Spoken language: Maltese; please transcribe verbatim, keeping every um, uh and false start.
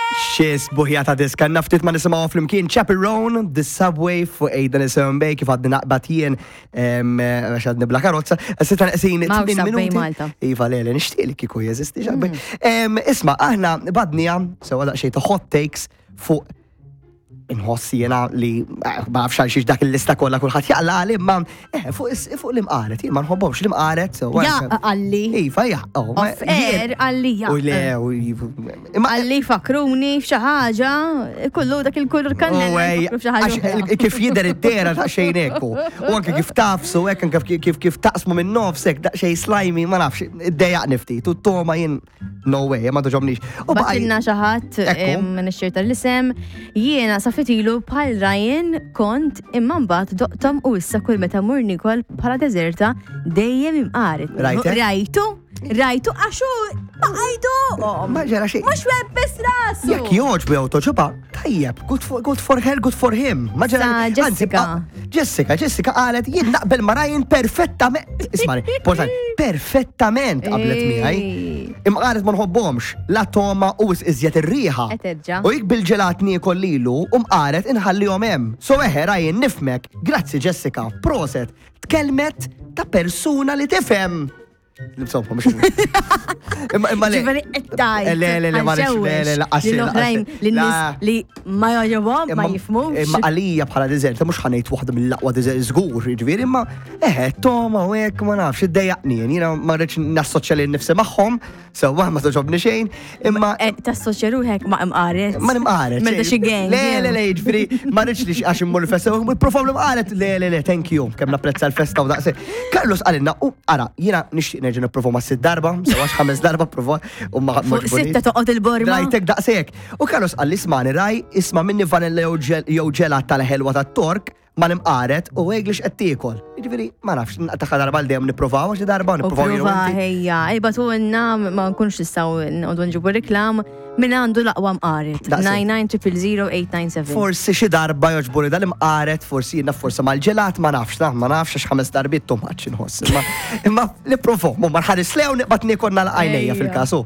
Xi sbuħija ta' diska, naftit ma nisimgħu flimkien Chappell Roan, The Subway fuq Eight seven Bay, kif għadni naqbad jien għax għadni bla karozza. Sitta neqsin M'hawnx tmien Subway minuti. Malta. Iva, le, le, nixtieq li kieku jeżisti Subway. Em, Isma', aħna badnija, sewa daqsxejn ta' hot takes fuq inħoss jena li eh, ma nafx għal xiex dak il-lista kollha kulħadd jaqla għali, imma eh, fuq is- fuq l-imqaret, jien ma nħobbhomx l-imqaret. So, Ja, għalli. Iva, ja. oh, ma- Off air, jien- għalli ja. U le, u imma Għalli fakruni f'xi ħaġa, kullu dak il-kulur kannella. U ej, jfakru f'xi ħaġa għax oħra. il- kif jidher id-dera ta' xejn ekku. U anke kif tafsu, hekk anke kif kif kif taqsmu minn nofsek, daqsxejn slimy, ma nafx, iddejjaqni ftit. U toma jien, no way, ma toġobnix. U baqaj- Bagħtilna xi ħadd Ekku. nixxirta l-isem, jiena sa ftit ilu bħal Ryan kont, imma mbagħad doqtom u issa kull meta mur nikol bħala deżerta dejjem imqaret. Rajtek? Rajtu? Rajtu għaxu baqajdu! Ma ġara xejn. Mhux webbes rasu! Jekk joġbu jew toġoba, tajjeb, good for, good for her, good for him. Ma ġara. Sa Anzi, Jessica. ah, Jessica, Jessica qalet jien naqbel ma Ryan perfettament. Ismani, importanti, perfettament qablet miegħi. Ej. Imma qalet ma nħobbhomx, la toma u iżjed ir-riħa. Qed terġa'. U jekk bil-ġelat niekol lilu u mqaret inħallihom hemm. So eħe Ryan nifmek, grazzi Jessica, proset, tkellmet ta' persuna li tifhem. Insomma, mhux. Imma imma le. Ġifieri qed tgħid. Le, le, le, ma rridx, le, le, laqas Li l-oħrajn, li n-nies li ma jogħġobhom, ma jifhmux. Imma għalija bħala dessert, mhux ħa ngħid waħda mill-aqwa dessert żgur, jiġifieri, imma eħe, toma u hekk ma nafx, iddejjaqni, jiena ma rridx nassoċja lil nifsi magħhom, sewwa ma toġobni xejn, imma Eh, Tassoċja ruħek ma' imqaret. Ma nimqaret. Meta xi gang. Le, le, le, jiġifieri, ma rridx li għax immur il-festa, u provaw l-imqaret, le, le, le, thank you, kemm napprezza l-festa u daqse. Carlos qalilna, u ara, jiena nixtieq nerġa' nipprova ma' sitt darba, sewa ħames darba prova, u ma Fuq sitta toqgħod il-borma. Rajtek daqsek. U Carlos qalli ismani raj, isma' minni vanilla jew ġel- jew ġelat tal-ħelwa tat-Tork, ma nimqaret u għeglix qed tiekol. Jiġifieri, ma nafx, taħħa darba l dejjem nipprovaw, xi darba U nipprovaw jien u prova inti. ħejja, ibagħtulna ma nkunx nistgħu nqogħdu nġibu reklam min għandu l-aqwa mqaret. Daqshekk. nine nine zero zero eight nine seven. Forsi xi darba joġburi dal-imqaret, forsi jiena forsi mal-ġelat, ma nafx, na, ma nafx għax ħames darbiet too much inħoss. Imma imma nipprovaw, ma nħares lew niqbad niekol nagħlaq għajnejja Ejja. fil-kasu.